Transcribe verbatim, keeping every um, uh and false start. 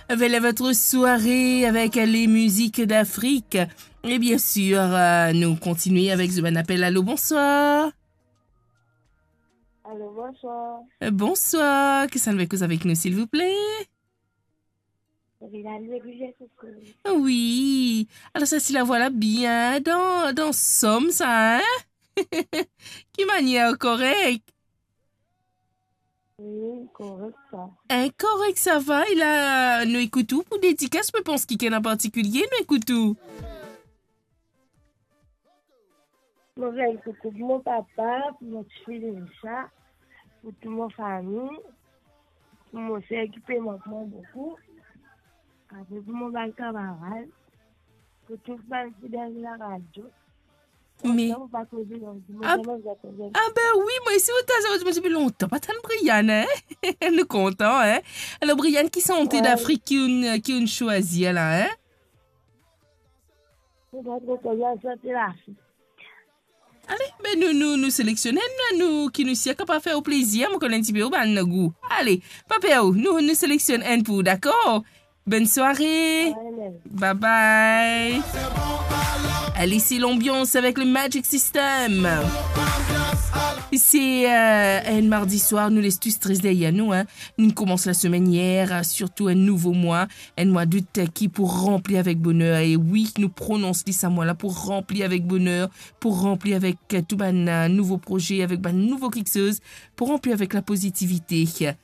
Voilà votre soirée avec les musiques d'Afrique. Et bien sûr, euh, nous continuons avec Zoban Appel. Allô, bonsoir. Allô, bonsoir. Euh, bonsoir. Qui ça nous écoute avec nous, s'il vous plaît? Wi, alor sa, si lavwa la bien dan, dan som sa, hein? Ki manier, korek? Wi, korek sa. Hein, korek, sa va, e la, nou ekout ou pou dedikas, mo pans ki ena partikilie, nou ekout ou. Mo fer koukou pou mo papa, pou mo tifi Lisa, pou tou mo fami, pou mo ser ki pe mank mwa boukou, apre pou mo bann kamarad, pou tou bann fidel laradio. Me Kontan pou pa koze lor, mo Ab-, tellement bien koze. Ah ben wi, mwa osi, mo tazan, mo depi lontan pa tann Brian, hein? Nou kontan, hein? Alor, Brian, ki sante Wi. Dafrik ki ou'nn, ki ou'nn swazir la, hein? Mo pa tro konn, sante Lafrik. Ale, be nou, nou, nou seleksionn enn, nou, ki nou sir kapav fer ou plezir, mo konn enn tipe ou bann gou. Ale, pa per, nou, nou seleksionn enn pou ou, dakor? Bonne soirée. Bye bye. Allez, c'est l'ambiance avec le Magic System. C'est, euh, un mardi soir, nou les tous très derrière nous, hein. Nou koumans lasemenn yer, euh, sirtou enn nouvo mwa, enn mwa dout, euh, ki pou ranpli avek boner. E wi, nou pronons li sa mwa la pou ranpli avek boner, pou ranpli avek, euh, tou bann, euh, nouvo proze, avek bann nouvo kiksoz, pou ranpli avek lapozitivite.